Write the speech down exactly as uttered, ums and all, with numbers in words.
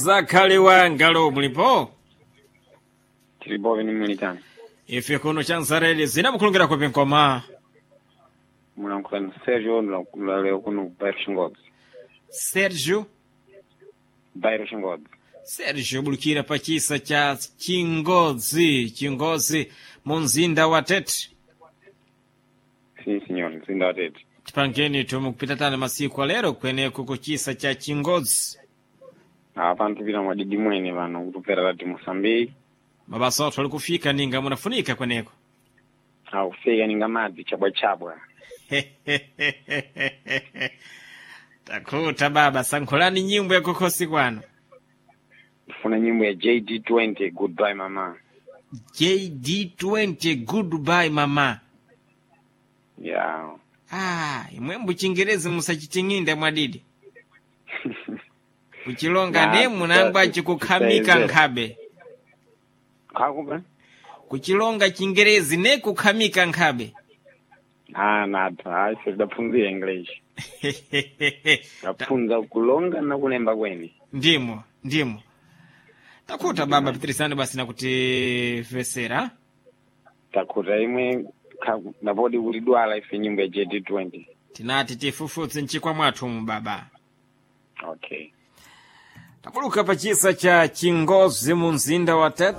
Zakhale wangalo mulipo? Tilipo ni mulitani. Ife kuno chanzareli zinamukhulungira kupi nkoma. Mulankhula ni Sergio leo kuno Bairo Shingodzi. Sergio Bairo Shingodzi. Sergio bulukira pa chisa cha Chingodzi, Chingodzi mu mzinda wa Tete. Si signor, mzinda wa Tete. Tipangeni tumukupita tani masiku alero kweneko kuchisa cha Chingodzi. Apa ntupita mwadidi mwene pano kutupera lati Mosambiki. Mabasa athu ali kufika ninga munafunika kweneko. Akufika ninga madzi chabwachabwa. Takhuta baba, sankhulani nyimbo yakukhosi kwano. Ndifuna nyimbo ya J D twenty, "Goodbye Mama". J D twenty, "Goodbye Mama". Yeah. Ah, imwembu chingerezi musachiting'inde mwadidi. Kuchilonga Na, ne munangwa tisa- chikukhamika tisaizera. nkhabe. Kakuba? Kuchilonga chingerezi ne kukhamika nkhabe. Ah, nathu. Hayi, sitapfunzira English. Tapfunza kulonga na kulemba kwene. Ndimo, ndimo. Takhuta baba, pitirisani basi nakutifesera. Takhuta imwe khaku- napodi kuti dwala ife nyimbo ya J D twenty. Tinati tifufutse mchikwa mwathu mu baba. Okay. Tabuluka pachisa cha Chingozi mu mzinda wa Tete.